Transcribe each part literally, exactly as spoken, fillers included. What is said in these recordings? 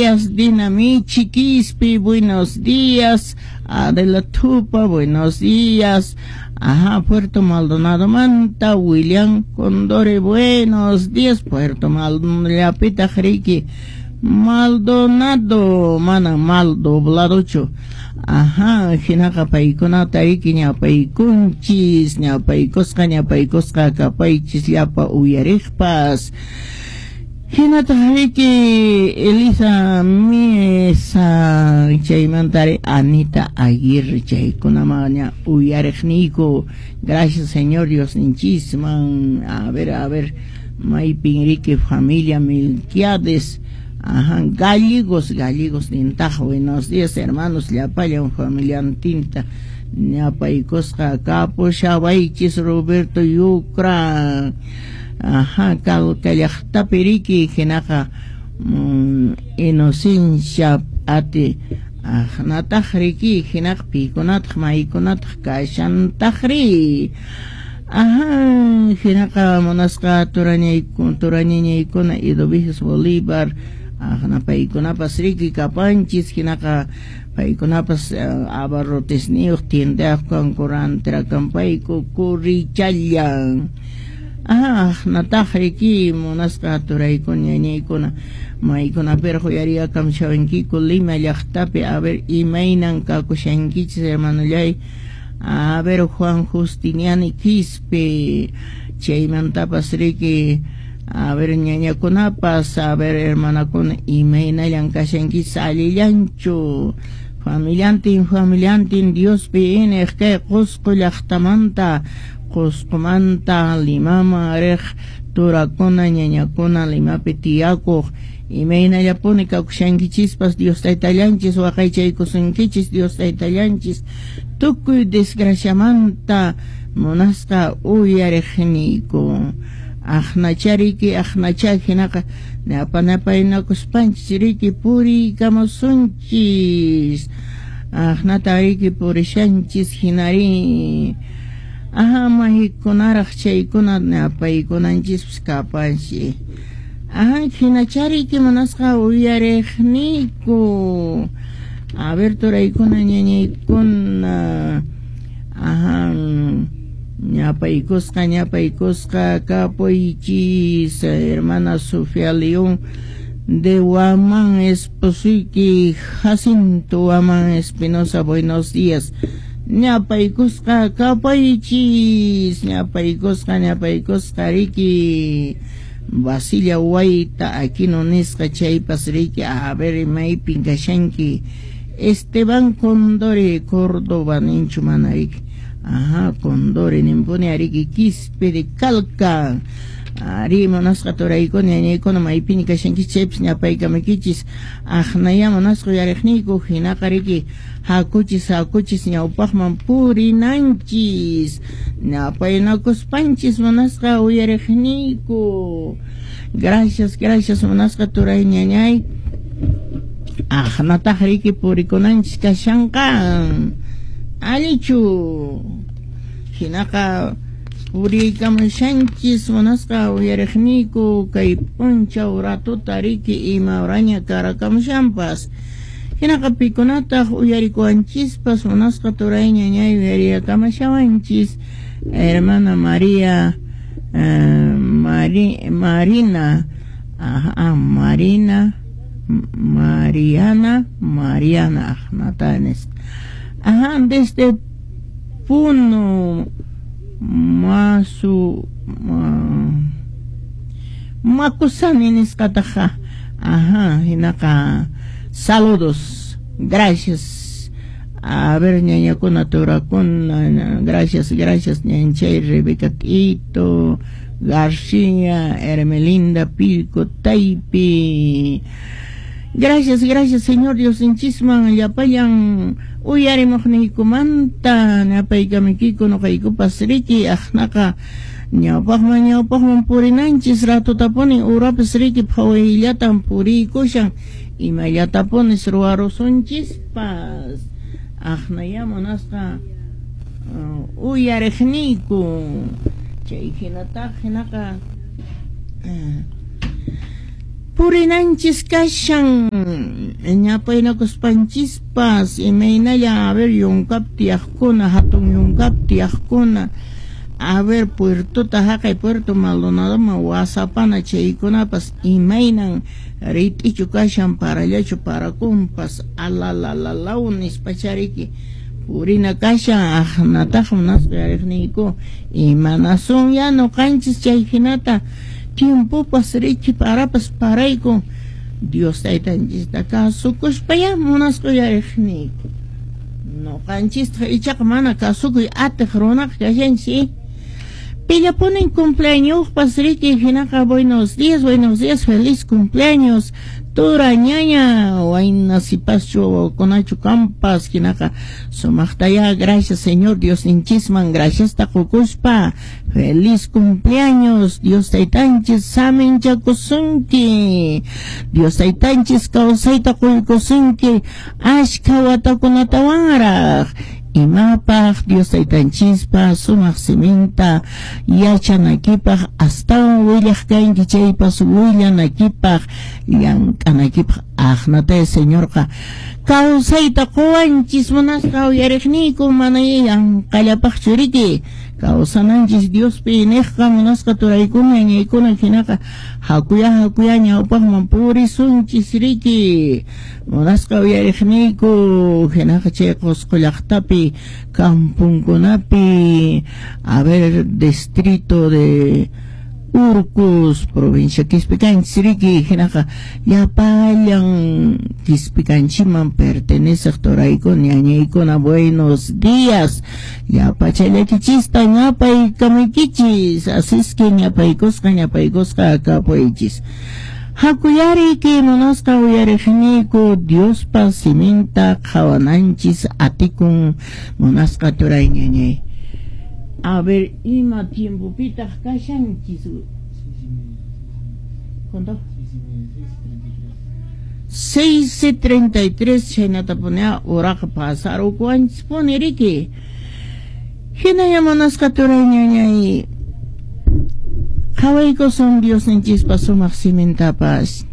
Dinamichi Quispe, buenos días. Adela Tupa, buenos días. Ajá, Puerto Maldonado Manta, William Condore, buenos días. Puerto Maldonado, Llapita Riki, Maldonado, mana mal dobladocho. Ajá, hinaqa paykunata riki ñapaykunchis, ñapaykusqa, ñapaykusqa kapaychis llapa uyariqpas. Hinataq riki Elisa Mesa chaymantari Anita Aguirre chaykunaman ña uyariqniyku. Gracias, Señor Dios ninchisman. A ver, a ver, maypin riki familia Milquiades. Ajá, gallegos, gallegos nintaq. Buenos días, hermanos, llapallan familiantinta ñapaykusqa kapushawaychis. Roberto Yucra. Ajá, Calca llaqtapi riki hinaqa mm, Inocencia ati aqnataq riki hinaqa pikunataq maykunataq kashantaq ri. Ajá, hinaqa munasqa turañaykuna turañañaykuna Idoviges Bolívar aqna paykunapas riki kapanchis hinaqa paykunapas uh, abarrotesniyuq tiendayuq kanku rantirakanpayku kurichallan. Ah, nataq riki munasqa turaykuna ñañaykuna maykunapiraq uyariyakamshawankiku Lima llaqtapi. A ver, imaynan kakushankichis, hermanollay. A ver, Juan Justiniani Quispe chaymantapas riki. A ver, ñañakunapas, a ver, hermanakuna, imaynallan kashankichis, allillanchu familiantin familiantin Diospi ineq kay Qusqu llaqtamanta, Qusqumanta Limaman riq turakuna ñañakuna Limapi tiyakuq imaynallapuni kakushankichispas. Dios taytallanchis waqaychaykusunkichis, Dios taytallanchis tukuy desgraciamanta munasqa uyariqniyku. Aqnachariki aqnacha hinaqa ñapanapaynakuspanchis riki puriykamusunchis aqnata riki purishanchis hinari. Ajá, maykunaraq chaykuna ñapaykunanchispas kapanchi. Ajá, hinachariki munasqa uyariqniyku. A ver, turaykuna ñañaykuna. Ajá, ñapaykusqa ñapaykusqa kapuychis. Hermana Sofía León de Huamán, esposuyki Jacinto Huamán Espinosa, buenos días. Ñapaykusqa kapaychis, ñapaykusqa ñapaykusqa riki Basilia Wayta Aquino nisqa chaypas riki. A ver, maypin kashanki. Esteban Condore Córdoba ninchu mana riki. Ajá, Condore nimpuni ariki Quispe de Calca. Ari munasqa turaykuna ñañaykuna maypiña kashankichis chaypas ñapaykamakichis aqnaya munasqa uyariqniyku hinaqa riki hakuchis hakuchis ñawpaqman purinanchis ñapaynakuspanchis munasqa uyariqniyku. Gracias, gracias, munasqa turay ñañay. Aqnataq riki purikunanchis kashanqa allichu hinaqa puriykamushanchis munasqa uyariqniyku kay p'unchaw ratuta riki ima horaña karakamushanpas hinaqa pikunataq uyarikuwanchispas munasqa turay ñañay uyariyakamashawanchis. Hermana María eh, Mari, Marina, ajá, Marina Mariana Mariana aqnata nisqa. Ajá, desde Puno Masu ma, Makusani nisqataqa. Ajá, hinaqa saludos, gracias. A ver, ñañakuna turakuna, gracias, gracias, ñanchay Rebeca Tito García, Hermelinda Pilco Taipi. Gracias, gracias, Señor Dios inchisman llapallan uyarimuqniykumanta ñapaykamikiyku nuqaykupas riki aqnaqa ñawpaqman ñawpaqman purinanchis ratutapuni urapas riki phawayllatan puriykushan imallatapunis ruwarusunchispas aqnaya munasqa uh, uyariqniyku chay hinataq hinaqa uh, Purinanchis kashan ñapaynakuspanchispas imaynalla a ver yunkapi tiyaqkuna hatun yunkapi tiyaqkuna a ver puertota haqay Puerto Maldonadoman wasapana chaykunapas imaynan rit'ichu kashan parallachu parakunpas alalalalaw nispachariki purina kashan aqnataq munasqa yariqniyku imanasun ya nuqanchis chay hinata tiempopas riki parapas parayku Dios taytanchista kasukuspaya munasqa yariqniyku nuqanchista ichaqa mana kasukuy atiq runaqa kashanchis. Pillapunin cumpleañospas riki hinaqa buenos días, buenos días, feliz cumpleaños tura ñaña wayna sipaschu kunachu kampas hinaqa sumaqtaya gracias Señor Dios ninchisman gracias ta qukuspa feliz cumpleaños Dios taytanchis saminchakusunki Dios taytanchis kawsayta quykusunki ashka watakunatawanraq imapaq Dios taytanchispa sumaq siminta yachanakipaq astawan willaq kanki chaypas willanakipaq llank'anakipaq aqnatay Señorqa kawsayta quwanchis munasqa uyariqniyku mana yanqallapaqchu riki kawsananchis Diospi niqqa munasqa turaykuna ñañaykuna hinaqa hakuya hakuya ñawpaqman purisunchis riki munasqa uyariqniyku hinaqa chay Qusqu llaqtapi kampunkunapi a ver distrito de Urcos, provincia Quispicanchis riki hinaqa llapallan Quispicanchiman pertenece turaykuna ñañaykuna buenos días llapachallaykichista ñapaykamaykichis así es que ñapaykusqa ñapaykusqa kapuychis hakuyariki munasqa uyariqniyku Diospa siminta qhawananchis atikun munasqa turay ñañay. A ver, ima tiempopitaq kashanchis. ¿Cuánto? seis treinta y tres chaynata punea uraqa pasarukuwanchis puni riki. Hinalla munasqa turay ñañay qhawaykusun Diosninchispa sumaq simintapas.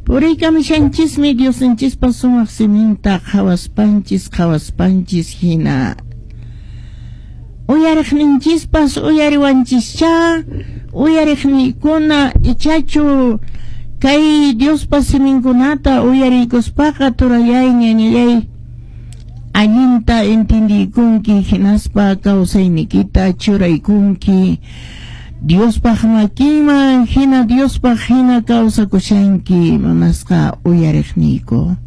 Puriykamishanchismi Diosninchispa sumaq siminta qhawaspanchis qhawaspanchis hina. Uyariqninchispas uyariwanchischa uyariqniykuna ichachu kay Diospa siminkunata uyariykuspaqa turallay ñañallay allinta entendiykunki hinaspa kawsayniykita churaykunki Diospaq makinman hina Diospaq hina kawsakushanki munasqa uyariqniyku.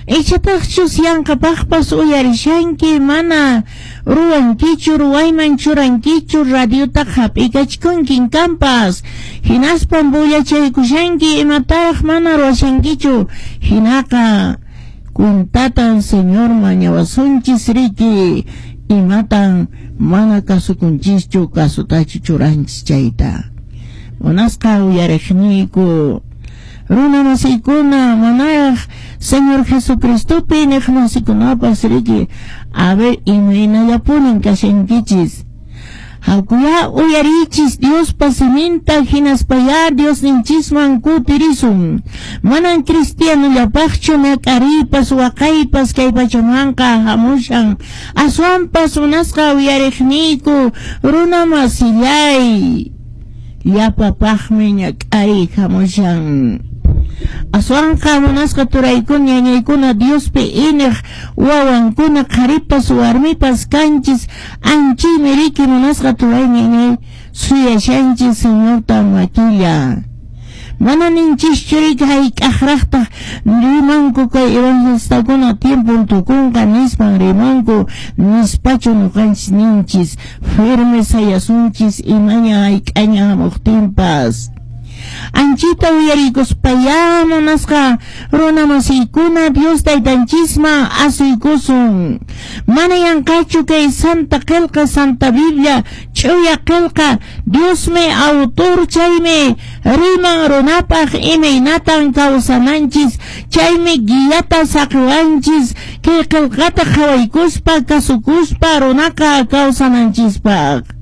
Ichataqchus yanqapaqpas uyarishanki mana ruwankichu ruwayman churankichu radiota hap'ikachkunkin kampas hinaspan bullachaykushanki imataraq mana ruwashankichu hinaqa kuntatan Señor mañawasunchis riki imatan mana kasukunchischu kasutachu churanchis chayta munasqa uyariqniyku runa masiykuna manaraq Señor Jesucristopi niq masikunapas riki a ver imaynallapunin kashankichis hakuya uyarichis Diospa siminta hinaspaya Diosninchisman kutirisun manan cristianollapaqchu ñak'ariypas waqaypas kay pachamanqa hamushan aswanpas munasqa uyariqniyku runa masillay llapapaqmi ñak'ariy hamushan aswanqa munasqa turaykuna ñañaykuna Diospi iniq wawankuna qharipas warmipas kanchis anchaymi riki munasqa turay ñañay suyashanchis Señorta makilla mana ninchischu riki hayk'aqraqtaq rimanku kay evangelistakuna tiempon tukunqa nispan rimanku nispachu nuqanchis ninchis firme sayasunchis imaña hayk'aña hamuqtinpas anchita uyariykuspaya munasqa runa masiykuna Dios taytanchisman asuykusun mana yanqachu kay Santa Qillqa Santa Biblia ch'uya qillqa Diosmi autor chaymi riman runapaq imaynatan kawsananchis chaymi guiata saqiwanchis kay qillqata qhawaykuspa kasukuspa runaqa kawsananchispaq.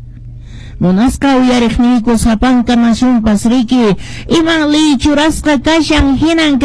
Munasqa uyariqniyku, sapanka nacionpas riki, iman ley churasqa kashan, hinan kay